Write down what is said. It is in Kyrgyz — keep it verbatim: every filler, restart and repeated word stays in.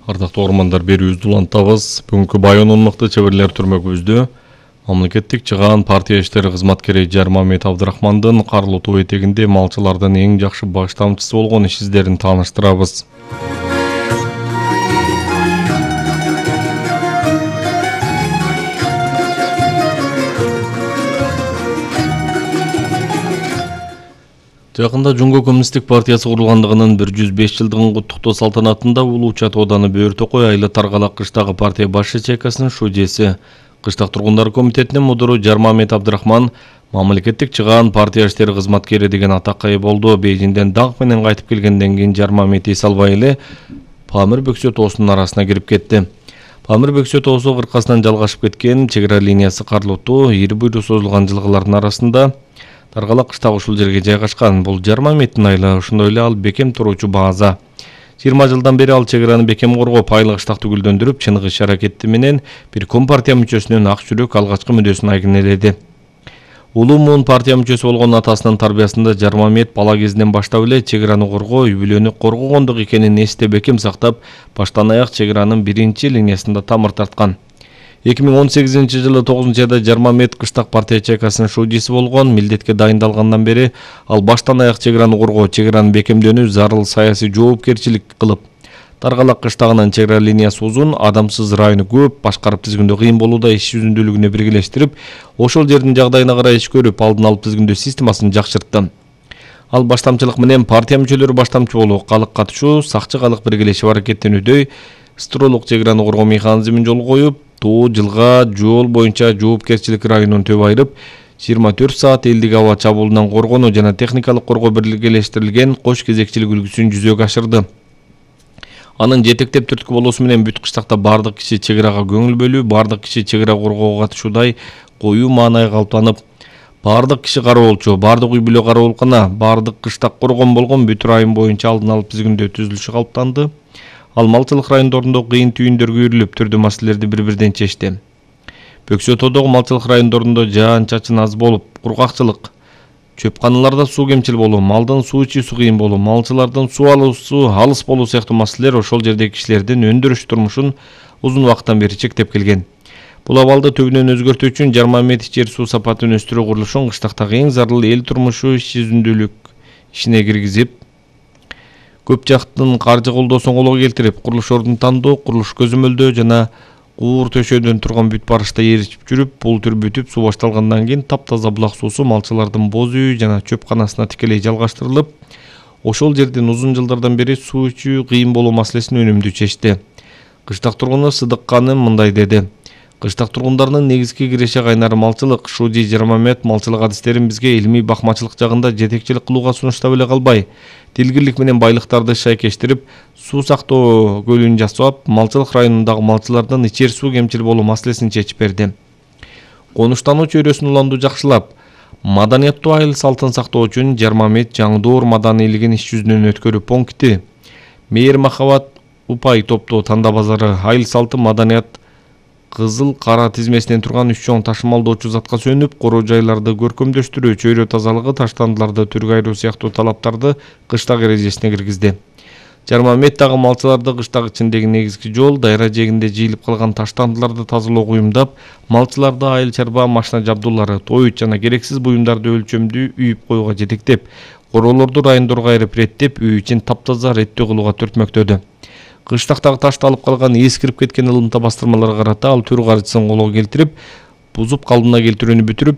Ардактуу ормандар берүүбүздү улантабыз. Бүгүнкү Байонун мыкты чеберлер түрмөгүбүздө мамлекеттик чыгаан партия иштери кызматкери Жармамет Абдрахмандын Карлуу тоо этегинде малчылардын эң жакшы баш тамчысы болгон иш издерин тааныштырабыз. Жакында Жумго коммунисттик партиясы курулгандыгынын бир жүз беш жылдыгын куттуктоо салтанатында Улуу-Чат ооданы Бөөр-Токой айыл Таргалак кыштагы партия баш ячейкасынын шужеси, Кыштак тургундар комитетинин мудуру Жармамет Абдрахман мамлекеттик чыгаан партия иштери кызматкери деген атакка ээ болду. Бейжиңден даңк менен кайтып келгенден кийин Жармамет эс албай эле Памир Бөксө тоосунун арасына кирип кетти. Памир Бөксө тоосу кыркасынан жалгашып кеткен чек ара линиясы Карлуу тоо ири буйру созулган жылгалардын арасында Таргалак кыштагы ушул жерге жайгашкан. Бул Жармаметтин айылы, ошондой эле ал бекем туруучу база. жыйырма жылдан бери ал чек араны бекем коргоп, айыл кыштакты гүлдөндүрүп, чыныгы иш аракети менен бир компартия мүчөсүнүн ак жүрөк алгачкы мүдөөсүн айгинеледи. Улуу муун партия мүчөсү болгон атасынын тарбиясында Жармамет бала кезинен баштап эле чек араны коргоо, үй бүлөнү коргогондук экенин эсте бекем сактап, баштан аяк чек аранын биринчи линиясында тамыр тарткан. эки миң он сегизинчи жылы тогузунчу айда Жармамет кыштак партия ячейкасынын шужеси болгон. Милдетке дайындалгандан бери ал баштан аяк чек араны коргоо, чек араны бекемдөөнү зарыл саясий жоопкерчилик кылып, Таргалак кыштагынын чек ара линиясы узун, адамсыз району көп, башкарып тизгиндөө кыйын болууда иш жүзүндүүлүгүнө биргелештирип, ошол жердин жагдайына карай иш көрүп, алдын алып тизгиндөө системасын жакшыртты. Ал баштамчылык менен партия мүчөлөрү баштамчы болуу, калык катышуу, сакчы калык биргелешип аракеттенүүдөй стролук чек араны коргоо механизмин жолго коюп, тоо, жылга, жол боюнча жоопкерчилик районун төп айырып, жыйырма төрт саат элдик аба чабуулунан коргонуу жана техникалык коргоо биргелештирилген кош кезекчилик үлгүсүн жүзөгө ашырды. Анын жетектеп түрткү болуусу менен бүт кыштакта бардык киши чек арага көңүл бөлүү, бардык киши чек ара коргоого катышуудай коюу маанай калыптанып, бардык киши кароолчу, бардык үй бүлө кароолкана, бардык кыштак коргон болгон бүт район боюнча алдын алып тизгиндөө түзүлүшү калыптанды. Ал малчылык райондорунда кыйын түйүндөргө үйрүлүп, түрдүү маселелерди бири-бирден чечти. Бөксө тоодогу малчылык райондорунда жаан-чачын аз болуп, кургакчылык, чөпканаларда суу кемчил болуу, малдын суу ичүүсү кыйын болуу, малчылардын суу алуусу алыс болуу сыяктуу маселелер ошол жердеги кишилердин өндүрүш турмушун узун убакыттан бери чектеп келген. Бул абалды түбүнөн өзгөртүү үчүн Жармамет ичер суу сапатын өстүрүү курулушун кыштактагы эң зарыл эл турмушу иш жүзүндүүлүк ишине киргизип, көп жактын каржы колдоосун колго келтирип, курулуш ордун тандоо, курулуш көзөмөлдөө жана куур төшөөдөн турган бүт барышта ээричип жүрүп, бул түр бүтүп, суу башталгандан кийин таптаза булак суусу малчылардын боз үй жана чөпканасына тикелей жалгаштырылып, ошол жердин узун жылдардан бери суу ичүү кыйын болуу маселесин өнүмдүү чечти. Кыштак тургуну Сыдык Каным мындай деди: Кыштак тургундарынын негизги киреши кайнары малчылык. Шужи Жармамет малчылык адистерин бизге илимий бакмачылык жагында жетекчилик кылууга сунуштап эле калбай, тилгирлик менен байлыктарды шайкештирип, суу сактоо көлүн жасап, малчылык районундагы малчылардын ичер суу кемчил болуу маселесин чечип берди. Конуштануу чөйрөсүн уланду жакшылап, маданияттуу айыл салтын сактоо үчүн Жармамет жаңдоор маданийлигин иш жүзүнөн өткөрүү пункти, мээр махабат упай топтоо танда базары, айыл салты маданият кызыл кара тизмесинен турган үч чоң ташымалдоочу затка сөнүп, короо жайларды көркөмдөштүрүү, чөйрө тазалыгы, таштандыларды түргө айыруу сыяктуу талаптарды кыштак эрежесине киргизди. Жармамет дагы малчыларды кыштак ичиндеги негизги жол, дайра жээгинде жыйылып калган таштандыларды тазалоого уюмдап, малчыларды айыл чарба машина жабдуулары, тоют жана керексиз буюмдарды өлчөмдүү үйүп коюуга жетектеп, короолорду райондорго айырып реттеп, үй ичин таптаза реттөө кылууга түртмөктөдү. Кыштактагы ташты алып калган, эскирип кеткен ылымта бастырмаларга карата ал түр каржысын колго келтирип, бузуп калдына келтирүүнү бүтүрүп,